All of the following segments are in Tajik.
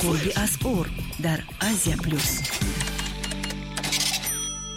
Қурби асъор дар Азия Плюс.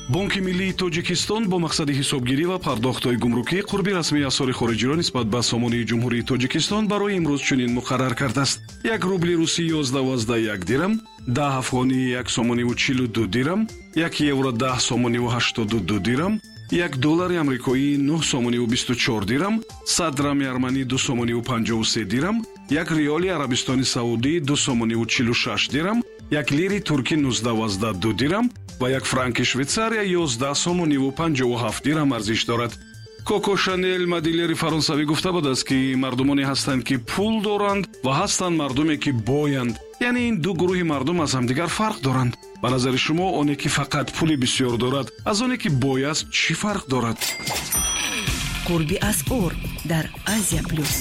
Бонки миллии Тоҷикистон бо мақсади ҳисобгирӣ ва пардохтҳои гумрукӣ қурби расмии асъори хориҷиро нисбат ба сомонии Ҷумҳурии Тоҷикистон барои имрӯз чунин муқаррар кардааст: як рубли русӣ 11,1 дирам, 10 афғонӣ 1 сомониву 42 дирам, 1 евро 10 сомониву 82 дирам, 1 доллари амрикоӣ 9 сомониву 24 дирам, 100 драми арманӣ 2 сомониву 53 дирам, 1 риёли Арабистони Саудӣ 2 сомониву 46 дирам, 1 лири туркӣ 19,2 дирам ва 1 франки Швейтсария 11 сомониву 57 дирам арзиш дорад. Коко Шанел, модельери фаронсавӣ, гуфта будааст, ки мардумоне ҳастанд, ки пул доранд, ва ҳастанд мардуме, ки боянд. Яъне ин ду гурӯҳи мардум аз ҳамдигар фарқ доранд. Ба назари шумо, оне ки фақат пули бисёр дорад, аз оне ки бой аст, чӣ фарқ дорад? Қурби асъор дар Азия Плюс.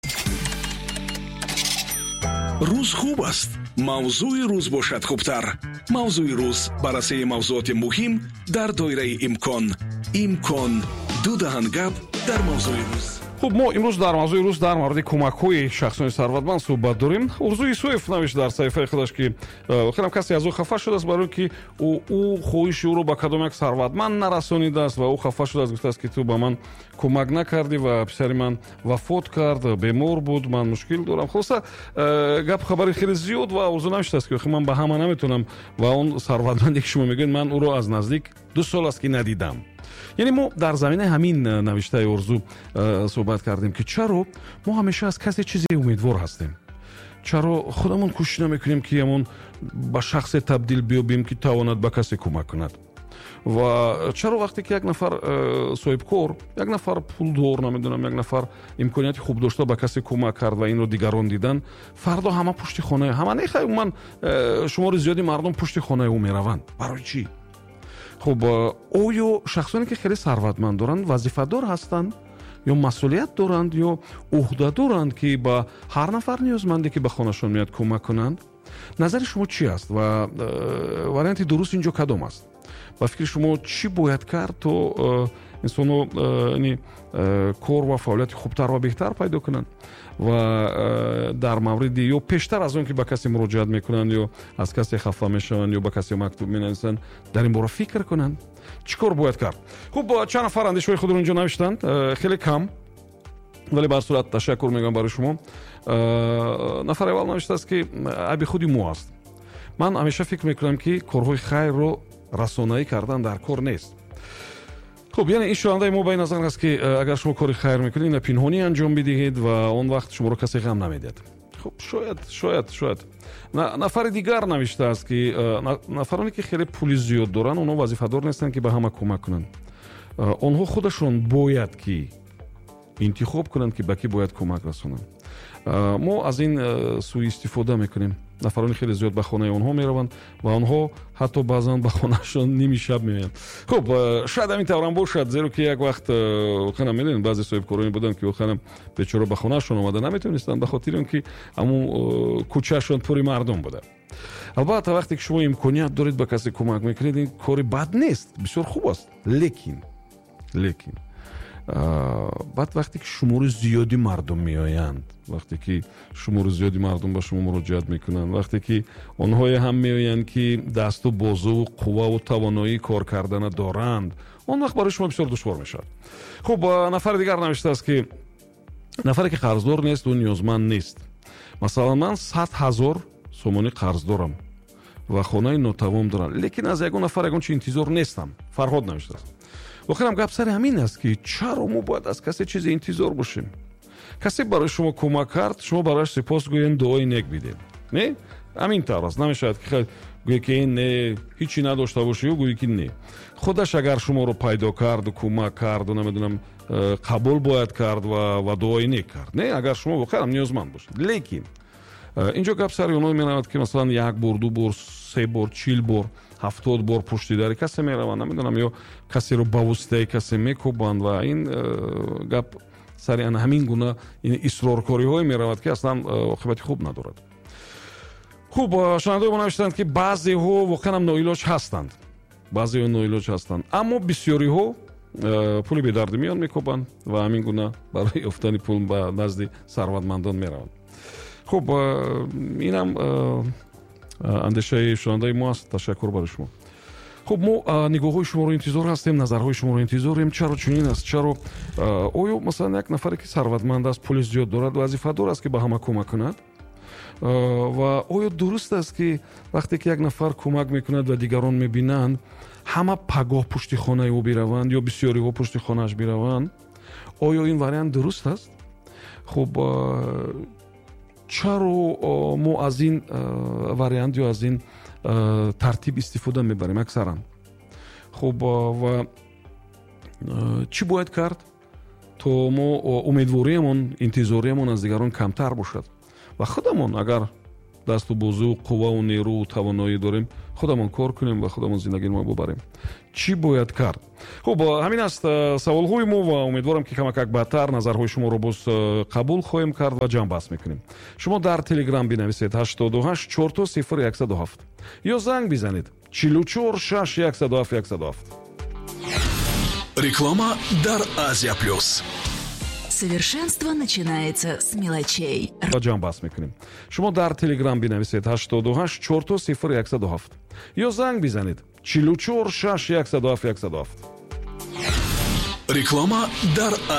Рӯз хуб аст, мавзӯи рӯз бошад хубтар. Мавзӯи рӯз: баррасии мавзӯоти муҳим дар доираи имкон. Имкон: ду даҳан гап дар мавзӯи рӯз. Хуб, мо имрӯз дар мавзӯи рӯз дар мавриди кӯмакҳои шахсони сарватманд суҳбат дорем. Орзу Исоев навишт дар саҳифаи худаш, ки охирам касе аз ӯ хафа шудааст, барои ки ӯ хоҳиши ӯро ба кадом як сарватманд нарасонидааст ва ӯ хафа шудааст. Гуфтааст, ки ту ба ман кӯмак накардӣ ва писари ман вафот кард, бемор буд, ман мушкил дорам. Хулоса, гап хабари хеле зиёд ва Орзу навиштааст, ки охир ман ба ҳама наметавонам ва он сарватманде, ки шумо мегӯед, ман ӯро аз наздик 2 сол аст, ки надидам. Яъне мо дар заминаи ҳамин навиштаи Орзу суҳбат кардем, ки чаро мо ҳамеша аз касе чизе умедвор ҳастем, чаро худамон кӯшиш намекунем, ки ҳамон ба шахсе табдил биёбем, ки тавонад ба касе кӯмак кунад, ва чаро вақте ки як нафар соҳибкор, як нафар пулдор, намедонам, як нафар имконияти хуб дошта ба касе кӯмак кард ва инро дигарон дидан, фардо ҳама пушти хонаи ҳама, не, хай, умуман шумори зиёди мардум пушти хонаи ӯ мераванд. Барои чӣ? Хуб, оё шахсоне, ки хеле сарватманд доранд, вазифадор ҳастанд ё масъулият доранд ё ӯҳда доранд, ки ба ҳар нафар ниёзманде, ки ба хонашон меяд, кӯмак кунанд? Назари шумо чӣ аст ва варианти дуруст инҷо кадом аст? Ба фикри шумо, чӣ бояд кард, то инсонҳо яъне кор ва фаъолияти хубтар ва беҳтар пайдо кунанд ва дар мавриди ё пештар аз он ки ба касе муроҷиат мекунанд ё аз касе хафа мешаванд ё ба касе мактуб менависанд, дар ин бора фикр кунанд? Чӣ кор бояд кард? Хуб, чанд нафар андешаҳои худро инҷо навиштанд, хеле кам, вале ба ҳар сурат ташаккур мегӯям барои шумо. Нафари аввал навиштааст, ки айби худи мо аст. Ман ҳамеша фикр мекунам, ки корҳои хайрро расонаӣ кардан дар кор нест. Хуб, яъне ин шунавандаи мо ба ин назар аст, ки агар шумо кори хайр мекунед, ина пинҳонӣ анҷом бидиҳед ва он вақт шуморо касе ғам намедиҳад. Хуб, шояд. Нафари дигар навиштааст, ки нафароне, ки хеле пули зиёд доранд, онҳо вазифадор нестанд, ки ба ҳама кӯмак кунанд. Онҳо худашон бояд ки интихоб кунанд, ки ба кӣ бояд кӯмак расонанд. Мо аз ин сӯистифода мекунем. Нафарони хеле зиёд ба хонаи онҳо мераванд ва онҳо ҳатто баъзан ба хонаашон ними шаб меоянд. Хуб, шояд ҳамин таврам бошад, зеро ки як вақт воқеан медонед, баъзе соҳибкороне буданд, ки воқеан бечора ба хонаашон омада наметавонистанд, ба хотири он ки ҳамун кӯчаашон пури мардум буда. Албатта, вақте ки шумо имконият доред, ба касе кӯмак мекунед, ин кори бад нест, бисёр хуб аст, лекин баъд вақте ки шумори зиёди мардум меоянд, вақте ки шумори зиёди мардум ба шумо муроҷиат мекунанд, вақте ки онҳое ҳам меоянд, ки дасту бозуву қувваву тавоноии кор кардана доранд, он вақт барои шумо бисёр душвор мешавад. Хуб, нафари дигар навиштааст, ки нафаре, ки қарздор нест, ӯ ниёзманд нест. Масалан, ман 100 000 сомонӣ қарз дорам ва хонаи нотавом дорам, лекин аз ягон нафар ягон чи интизор нестам. Фарҳод навиштааст. Воқеан гап сари ҳамин аст, ки чаро мо бояд аз касе чизе интизор бошем? Касе барои шумо кӯмак кард, шумо барояш сипос гӯед, дуои нек бидед. Не, ҳамин тавр аст. Намешавад, ки гӯе, ки не, ҳичи надошта бошӣ, гӯе, ки не. Худаш агар шуморо пайдо карду кӯмак карду, намедонам, қабул бояд кард ва дуои нек кард, не, агар шумо воқеан ниёзманд бошед. Лекин инҷо гап сари оно меравад, ки масалан як бор, ду бор, се бор, 40 бор, 70 бор пушти дари касе мераванд, намедонам, ё касеро ба воситаи касе мекӯбанд ва ин гап сари ана ҳамин гуна исроркориҳое меравад, ки аслан оқибати хуб надорад. Хуб, шунавандаои мо навиштанд, ки баъзеҳо воқеанам ноилоҷ ҳастанд, баъзеҳо ноилоҷ ҳастанд, аммо бисёриҳо пули бедарди миён мекӯбанд ва ҳамин гуна барои ёфтани пул ба назди сарватмандон мераванд. Хуб, инам Андешаи шунавандаи мо аст. Ташаккур барои шумо. Хуб, мо нигоҳҳои шуморо интизор ҳастем, назарҳои шуморо интизорем. Чаро чунин аст? Чаро, оё, масалан, як нафаре, ки сарватманд аст, пули зиёд дорад, вазифадор аст, ки ба ҳама кӯмак кунад? Ва оё дуруст аст, ки вақте ки як нафар кӯмак мекунад ва дигарон мебинанд, ҳама пагоҳ пушти хонаи ӯ бираванд ё бисёриҳо пушти хонааш бираванд? Оё ин вариант дуруст аст? Хуб, чаро мо аз ин вариант ё аз ин тартиб истифода мебарем аксаран? Хуб, ва чӣ бояд кард, то мо умедвориямон, интизориямон аз дигарон камтар бошад ва худамон, агар дасту бозу, қувваву нерӯ, тавоноӣ дорем, худамон кор кунем ва худамон зиндагиро бубарем? Чӣ бояд кард? Хуб, ҳамин аст саволҳои мо ва умедворам, ки камакак баъдтар назарҳои шуморо боз қабул хоҳем кард ва ҷамъбаст мекунем. Шумо дар Телеграм бинависед 88 000 107 ё занг бизанед 44 6 107 107. Реклама дар Азия Плюс. Совершенство начинается с мелочей. Ва ҷамъбаст мекунем. Шумо дар Телеграм бинависед 88 000 107 ё занг бизанед 44 6 107 107. Реклама дар